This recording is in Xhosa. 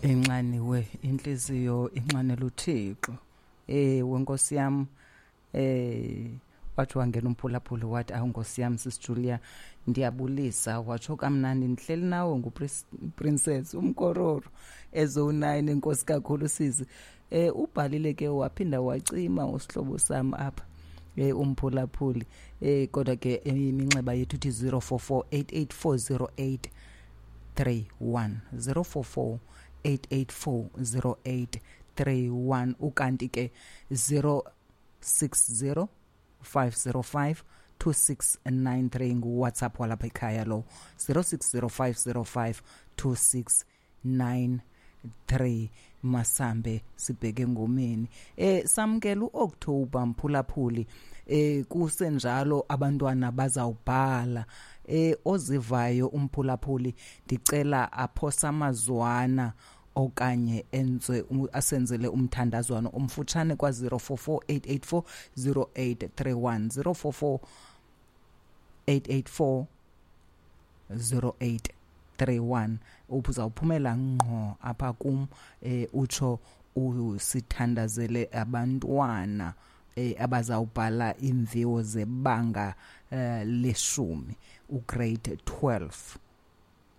Inxaniwe intliziyo inxanela uThixo. Ewe Nkosi yam, wathi wangena umphulaphuli wathi, awu Nkosi yam, Sis Julia, ndiyabulisa. Watsho kamnandi, ndihleli nawe nguPrincess umkororo ezo-9. Enkosi kakhulu sisi. Ubhalile ke waphinda wacima usihlobo sam apha, umphulaphuli. Kodwa ke iminxeba yethu ithi 044 884 0831, 044 884 0831, ukanti ke 060 505 2693 nguWhatsApp walapha ekhaya lo, 060 505 2693. Masambe sibheke ngomeni. Samkela uOctober, mphulaphuli. Kusenjalo abantwana bazawubhala. Ozivayo umphulaphuli, ndicela aphosa amazwana okanye enze asenzele umthandazwano omfutshane kwa 044 884 0831, 044 884 0831. Uzawuphumela ngqo apha kum, utsho usithandazele abantwana abazawubhala imviwo zebanga leshumi, ugrade 12.